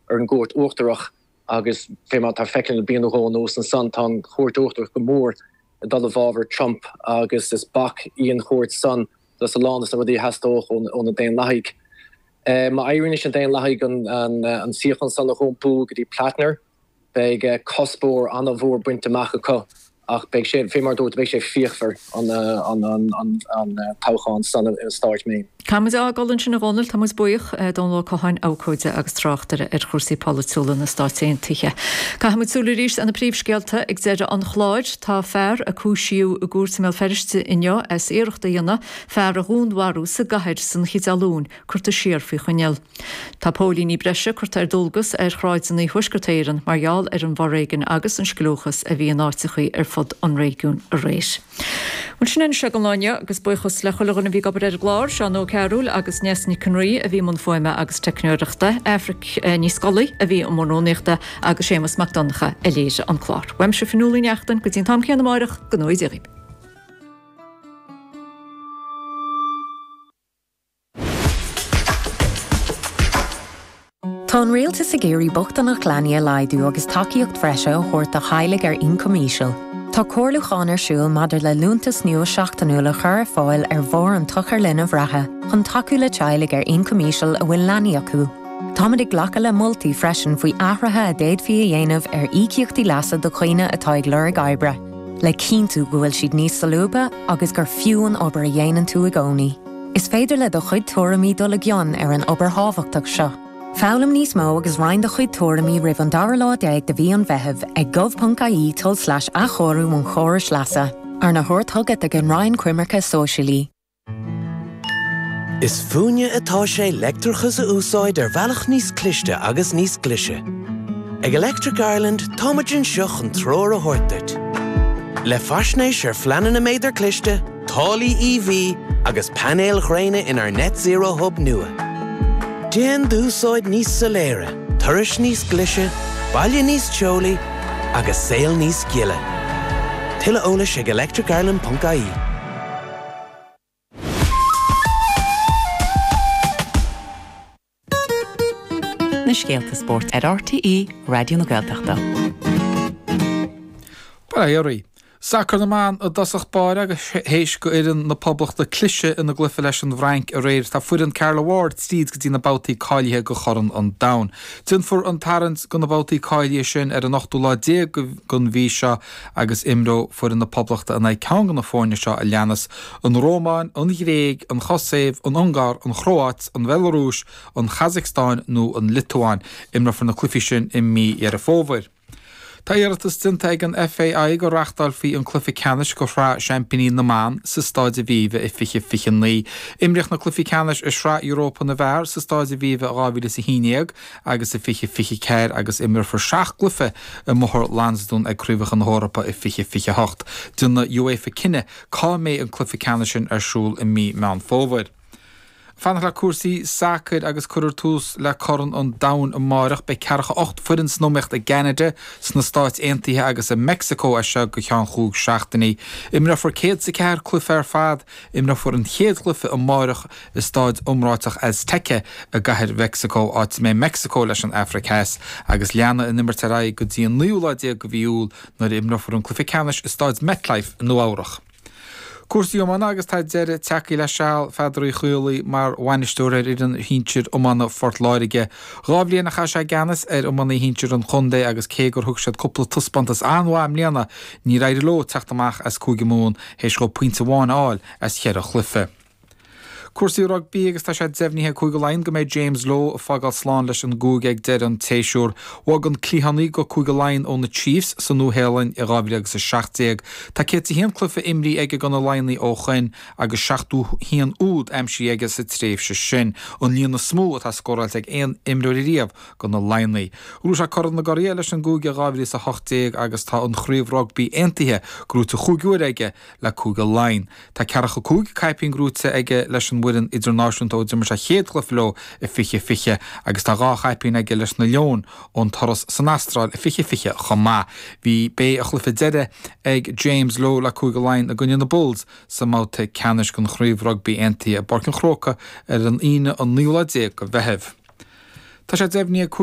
ar an gCúirt Uachtarach agus fé mar atá feicthe le bliain nó dhó anuas ansan, tá an Chúirt Uachtarach go mór ag dul i bhfabhar Trump agus is bac í an chúirt san dos a lán dos na rudaí a theastódh ó na Daonlathaigh. Má éiríonn leis na Daonlathaigh an suíochán san a dh'iompú go dtí Platner, Beidh cuspóir an-mhór bainte amach acu ach beidh sé, fé mar a dúirt, beidh sé fíochmhar an toghchán san i stáit Maine. Caithfidh muid a fhágáil ansin a Dhónaill, tá muid buíoch. Dónal Ó Catháin, abhcóide agus tráchtaire ar chúrsaí polaitiúla na Stáit Aontaithe. Caithfidh muid súil arís ar na príomhscéalta ag deireadh an chláir. Tá fear a cúisíodh i gcúirt i mBéal Feirste inniu as iarracht a dhéanamh fear a dhúnmharú sa gcathair san oíche Dé Luain curtha siar faoi choinneal. Tá póilíní breise curtha ar dualgas ar shráideanna Thuaisceart Éireann mar gheall ar an bhforéigean agus an scliúchas a bhí in áiteachaí ar fud an réigiúin aréir. Bhuel, sin é anois don lá inniu agus buíochas le chuile dhuine a bhí ag obair ar an gclár, Seán Ó Cearúil agus Neasa Nic an Rí a bhí i mbun fuaime agus teicneoireachta, Aifric Ní Scolaí a bhí i mbun rúnaíochta agus Séamus Mac Donncha a léirigh an clár. Uaimse Fionnuala Ní Neachtain go dtí an t-am céanna amáireach, go ngnóthaí Dia dhaoibh. Tá an Rialtas ag iarraidh bochtaineacht leanaí a laghdú agus tacaíocht bhreise a thabhairt do theaghlaigh ar ioncam íseal. Tá comhairliúchán ar siúl maidir le liúntas nua seachtainiúil a chur ar fáil ar bharr an tSochair Linbh reatha chun tacú le teaghlaigh ar ioncam íseal a bhfuil leanaí acu. Táimid ag glacadh le moltaí freisin faoi athruithe a d'fhéadfaí a dhéanamh ar íocaíochtaí leasa do dhaoine atá ag lorg oibre, le cinntiú go bhfuil siad níos solúbtha agus gur fiú an obair a dhéanann tú i gcónaí. Is féidir le do chuid tuairimí dul i gcion ar an obair thábhachtach seo. Foghlaim níos mó agus roinn do chuid tuairimí roimh an dara lá déag de mhí an Mheithimh ag gov.ie tulslais athchóiriú an chórais leasa, arna thabhairt chugat ag an Roinn Coimirce Sóisialaí. Is fúinne atá sé leictreachas a úsáid ar bhealach níos cliste agus níos glaise. Ag Electric Ireland táimid anseo chun treoir a thabhairt duit. Le faisnéis ar phleananna méadar cliste, táillí EV agus painéil ghréine inár Net Zero Hub nua. Déan d'úsáid níos soiléire, turais níos glaise, baile níos teolaí agus saol níos gile. Tuilleadh eolais ag electricireland.ie. Na scéalta spóirt ar RTÉ Raidió na Gaeltachta. Bail ó Dhia oraibh. Sacar na mban i dtosach báire agus théis go fhoireann na Poblachta cliseadh ina gcluiche leis an bhFrainc aréir tá foireann Carla Ward tríd go dtí na babhtaí cáilithe go Chorn an Domhain. Déanfar an tarraingt go na babhtaí cáilithe sin ar an ochtú lá déag den mhí seo agus imreoidh foireann na Poblachta in aghaidh ceann de na foirne seo a leanas, an Rómáin, an Ghréig, an Chosaiv, an Ungáir, an Chróáit, an Bhealarúis, an Chasacstáin nó an Liotuáin. Imreofar na cluichí sin i mí Dheireadh Fómhair. Tá iarratas déanta ag an FAI go reáchtálfaí an cluiche ceannais de Shraith Seaimpíní na mBan sa Stáid Aviva i 2029. Imríodh na cluichí ceannais i Sraith Europa na bhFear sa Stáid Aviva i 2011 agus i 2024 agus imreofar seacht gcluiche i mBóthar Lansdún ag Craobhacha na hEorpa i 2028. Déanfaidh UEFA cinneadh cá mbeidh an cluiche ceannais sin ar siúl i mí Meán Fómhair. Fanacht le cúrsaí sacair agus cuirfear tús le Corn an Domhain amáireach. Beidh 48 foireann san iomaíocht i gCeanada, sna Stáit Aontaithe agus i Meicsiceo as seo go ceann chúig seachtainí. Imreofar 104 cluiche ar fad. Imreofar an chéad chluiche amáireach i staid iomráiteach Azteca i gCathair Mheicsiceo, áit a mbeidh Meicsiceo leis an Afraic Theas, agus leanfaidh an imirt ar aghaidh go dtí an naoú lá déag de mhí Iúil nuair a imreofar an cluiche ceannais i staid MetLife i Nua-Eabhrac. Cúrsaí iomána agus tá deireadh tagtha le seal Pheadair Uí Chaollaí mar bhainisteoir ar fhoireann shinsir iomána Phort Láirge. Dhá bhliain a chaith sé i gceannas ar iománaí shinsir an chontae agus cé gur thug siad cúpla taispeántas an-mhaith i mbliana, níor éirigh leo teacht amach as Cúige Mumhan théis dhóibh pointe amháin a fháil as cheithre chluiche. Cúrsaí rugbaí agus tá sé deimhnithe ag Cúige Laighean go mbeidh James Lowe ag fágáil slán leis an gcúige ag deireadh an tséasúir. Bhog an cliathánaí go Cúige Laighean ó na Chiefs sa Nua-Shéalainn i 2017. Tá 101 cluiche imrithe aige do na Laighnigh ó shoin agus 71 úd aimsithe aige sa tréimhse sin, an líon is mó atá scóráilte ag aon imreoir ariamh do na Laighnigh. Ghnóthaigh sé Corn na gCuradh leis an gcúige i 2018 agus tá an Chraobh Rugbaí Aontaithe gnóite chúig uaire aige le Cúige Laighean. Tá 45 caipín gnóite aige leis an bhfoireann idirnáisiúnta ó d'imir sé a chéad chluiche leo i 2020 agus tá dhá chaipín aige leis na Leoin ón turas san Astráil i 2020 chomh maith. Bhí b'é a chluiche deiridh ag James Lowe le Cúige Laighean i gcoinne na Bulls sa mbabhta ceannais den Chraobh Rugbaí Aontaithe i bPáirc an Chrócaigh ar an Aoine an naoú lá déag de Mheitheamh. Tá sé deimhnithe ag.